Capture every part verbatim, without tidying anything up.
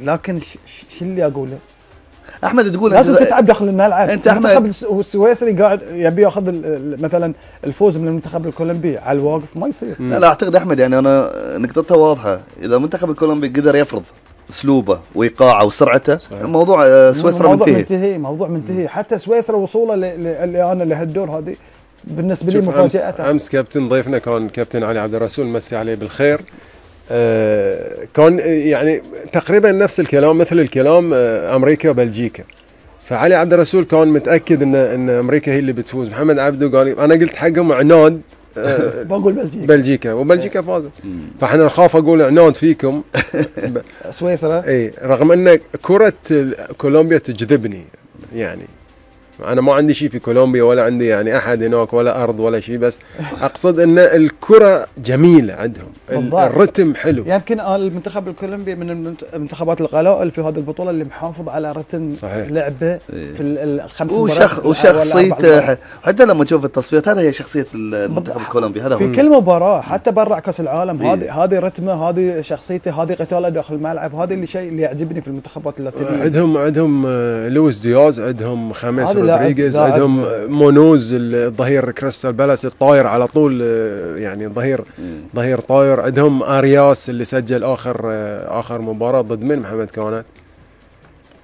لكن شو اللي اقوله احمد تقول لازم تتعب داخل الملعب. انت احمد السويسري قاعد يبي ياخذ مثلا الفوز من المنتخب الكولومبي على الواقف ما يصير. لا لا اعتقد احمد يعني انا نقطتها واضحه، اذا المنتخب الكولومبي قدر يفرض اسلوبه وايقاعه وسرعته موضوع سويسرا موضوع منتهي. منتهي موضوع منتهي. حتى سويسرا وصوله اللي انا لهالدور هذه بالنسبه لي مفاجاه. امس كابتن ضيفنا كان كابتن علي عبد الرسول، مسي عليه بالخير. آه كان يعني تقريبا نفس الكلام مثل الكلام آه امريكا وبلجيكا. فعلي عبد الرسول كان متاكد ان ان امريكا هي اللي بتفوز. محمد عبده قال انا قلت حقهم عناد آه بقول بلجيكا بلجيكا وبلجيكا فازت. فاحنا نخاف اقول عناد فيكم سويسرا. اي رغم ان كره كولومبيا تجذبني، يعني انا ما عندي شيء في كولومبيا ولا عندي يعني احد هناك ولا ارض ولا شيء، بس اقصد ان الكره جميله عندهم، الرتم حلو. يمكن المنتخب الكولومبي من المنتخبات القلائل في هذه البطوله اللي محافظ على رتم صحيح. لعبه في الخمس مباريات وشخصيته. حتى لما تشوف التصفيات هذا هي شخصيه المنتخب الكولومبي، هذا في كل مباراه حتى برا كاس العالم. هذه هذه رتمه، هذه شخصيته، هذه قتاله داخل الملعب. هذا اللي شيء اللي يعجبني في المنتخبات اللاتينيه. عندهم عندهم لويس دياز، عندهم خامس رودريغيز، عندهم مونوز الظهير كريستال بالاس الطاير على طول، يعني ظهير ظهير طاير. عندهم ارياس اللي سجل اخر اخر مباراه ضد من محمد كانت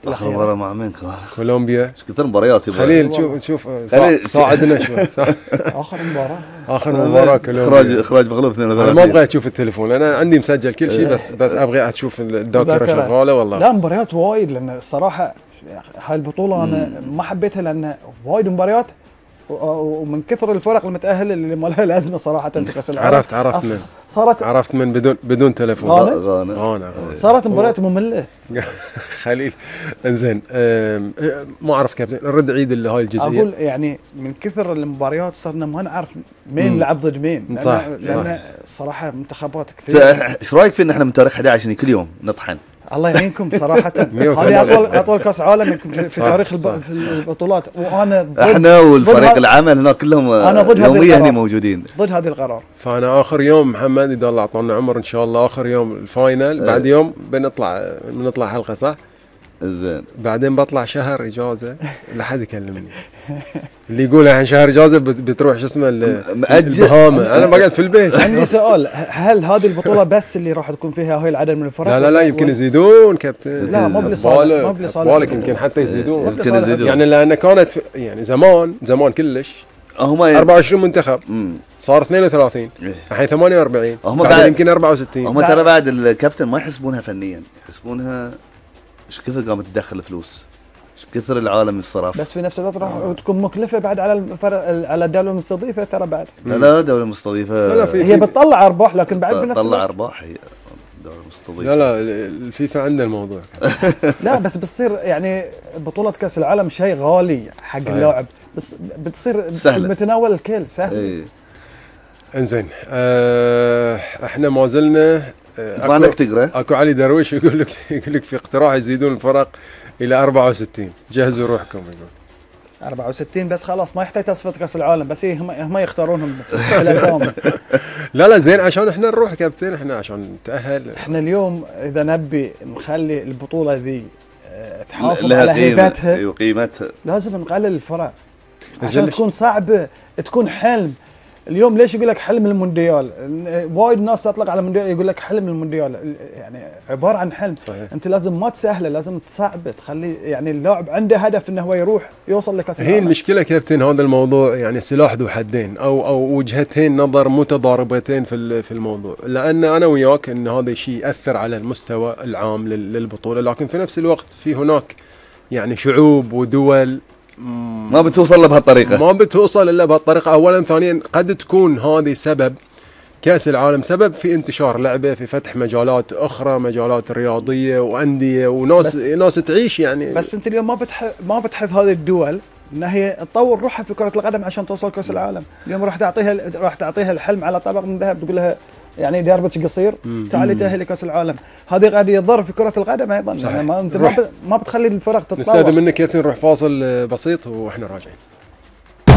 اخر مباراه مع مين كان؟ كولومبيا. ايش كثر مباريات يبغى خليل شوف شوف ساعدنا شوي. اخر مباراه اخر مباراه كولومبيا اخراج اخراج مغلوب اثنين وثلاثين. ما ابغى اشوف التليفون، انا عندي مسجل كل شيء، بس بس ابغى اشوف الذاكره شغاله والله. لا مباريات وايد، لان الصراحه هاي البطولة أنا ما حبيتها لأن وايد مباريات ومن كثر الفرق المتأهلة اللي ما لها لازمة صراحة في كأس العالم. عرفت عرفت من صارت عرفت من بدون بدون تلفون. غانا غانا صارت مباريات مملة. خليل انزين ما أعرف كابتن الرد عيد اللي هاي الجزئية. أقول يعني من كثر المباريات صرنا ما نعرف مين لعب ضد مين، لأن, صح لأن الصراحة منتخبات كثير. إيش رأيك في إن إحنا من تاريخ أحد عشر كل يوم نطحن؟ الله يعينكم صراحة. هذه أطول أطول كأس عالم في تاريخ البطولات، وأنا إحنا والفريق العمل هنا كلهم يوميا هنا موجودين ضد هذه القرار. فأنا آخر يوم محمد إذا الله أعطانا عمر إن شاء الله آخر يوم الفاينل أه. بعد يوم بنطلع بنطلع حلقة صح؟ زين. بعدين بطلع شهر إجازة لا حد يكلمني. اللي يقول الحين شهر إجازة بتروح شو اسمه البهامة. أنا بقعد في البيت. عندي سؤال، هل هذه البطولة بس اللي راح تكون فيها هاي العدد من الفرق؟ لا لا لا يمكن يزيدون كابتن. لا مو بلصالح مو بلصالح يمكن حتى يزيدون. يمكن يزيدون يعني لأن كانت يعني زمان زمان كلش هم أربعة وعشرين منتخب صار اثنين وثلاثين الحين ثمانية وأربعين بعد يمكن أربعة وستين. هم ترى بعد الكابتن ما يحسبونها فنيا، يحسبونها ايش كثر قامت تدخل فلوس، ايش كثر العالم الصراف. بس في نفس الوقت راح تكون مكلفه بعد على الفرق على الدوله المستضيفه ترى بعد. لا لا الدوله المستضيفه هي بتطلع ارباح لكن بعد بنفس الوقت بتطلع ارباح هي الدوله المستضيفه. لا لا الفيفا عندها الموضوع. لا بس بتصير يعني بطوله كاس العالم شيء غالي حق اللاعب، بس بتصير في متناول الكل سهل. ايه. انزين أه احنا ما زلنا ما عندك تقرا. اكو علي درويش يقول لك يقول لك في اقتراح يزيدون الفرق الى أربعة وستين، جهزوا روحكم. يقول أربعة وستين بس خلاص ما يحتاج تصفية كاس العالم، بس هم هم يختارونهم بالاسامي. لا لا زين عشان احنا نروح كابتن، احنا عشان نتاهل. احنا اليوم اذا نبي نخلي البطولة ذي تحافظ على هيبتها وقيمتها لازم نقلل الفرق عشان تكون صعبة، تكون حلم. اليوم ليش يقول لك حلم المونديال؟ وايد ناس تطلق على المونديال يقول لك حلم المونديال، يعني عباره عن حلم. صحيح. انت لازم ما تسهله، لازم تصعبه، تخلي يعني اللاعب عنده هدف انه هو يروح يوصل لكاس العالم. هي المشكله كابتن هذا الموضوع يعني سلاح ذو حدين او او وجهتين نظر متضاربتين في في الموضوع، لان انا وياك ان هذا الشيء ياثر على المستوى العام للبطوله، لكن في نفس الوقت في هناك يعني شعوب ودول ما بتوصل له بهالطريقة، ما بتوصل إلا بهالطريقة. أولا ثانيا قد تكون هذه سبب كأس العالم سبب في انتشار لعبة، في فتح مجالات أخرى، مجالات رياضية وأندية وناس ناس تعيش يعني. بس أنت اليوم ما بتح ما بتحث هذه الدول إن هي تطور روحها في كرة القدم عشان توصل كأس العالم. اليوم راح تعطيها راح تعطيها الحلم على طبق من ذهب، تقول لها يعني دربك قصير تعالي تأهلي كأس العالم. هذه قاعد يضر في كرة القدم أيضا، يعني ما أنت ما, ما بتخلي الفرق تتطور. نستاذن منك كابتن نروح فاصل بسيط وإحنا راجعين.